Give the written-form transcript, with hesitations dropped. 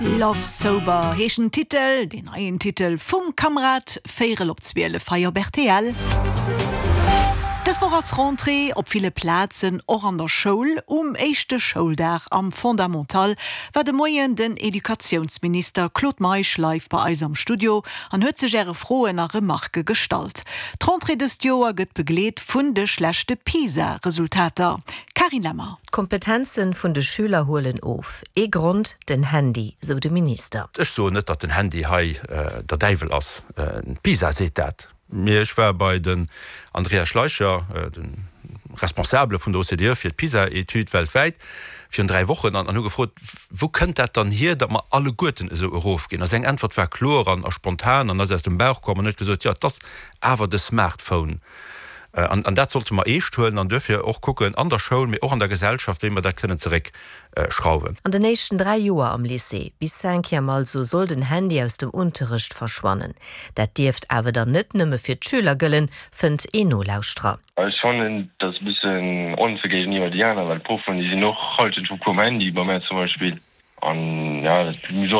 Love Sober heescht den Titel, deen neien Titel vum Kamrad, véierel op 12 hei op rtl. Dës Woch ass Rentrée op ville Plazen, och an der Schoul. Um éischte Schouldag am Fondamental war de Moien den Educatiounsminister Claude Meisch live bei eis am Studio an huet sech Äre Froen a Remarke gestallt. D'Rentrée dëst Joer gëtt begleet vun de schlechte PISA-Resultater. Carine Lemmer. D'Kompetenzen vun de Schüler huelen of. Ee Grond, den Handy, sou de Minister. Ech soen net, datt den Handy hei der Däiwel ass. D'PISA seet dat. Mee ech war bei den Andreas Schleicher, de Responsabele vun der OCDE fir d'PISA-Etüd weltwäit, virun 3 Wochen an hu gefrot, Wou kënnt dat dann hier, datt mer alleguerten esou erofginn? A seng Äntwert war kloer an spontan an ass aus dem Bauch komm an huet gesot, Jo, et ass awer de Smartphone. An dat sollte mer eescht huelen an duerfir och kucken an der Schoul, mee och an der Gesellschaft, wéi mer dat kënnen zeréckschrauwen. An den éischten 3 Joer am Lycée, bis Cinquième also, soll den Handy aus dem Unterrecht verschwannen. Dat dierft awer dann net nëmme fir d'Schüler gëllen, fënnt een Nolauschterer. Ech fannen dat e bëssen onfair géigeniwwer déi aner, well d'Proffen déi sinn och halschent vum Cours um Handy, bei mär zum Beispill, an ja dat muss och.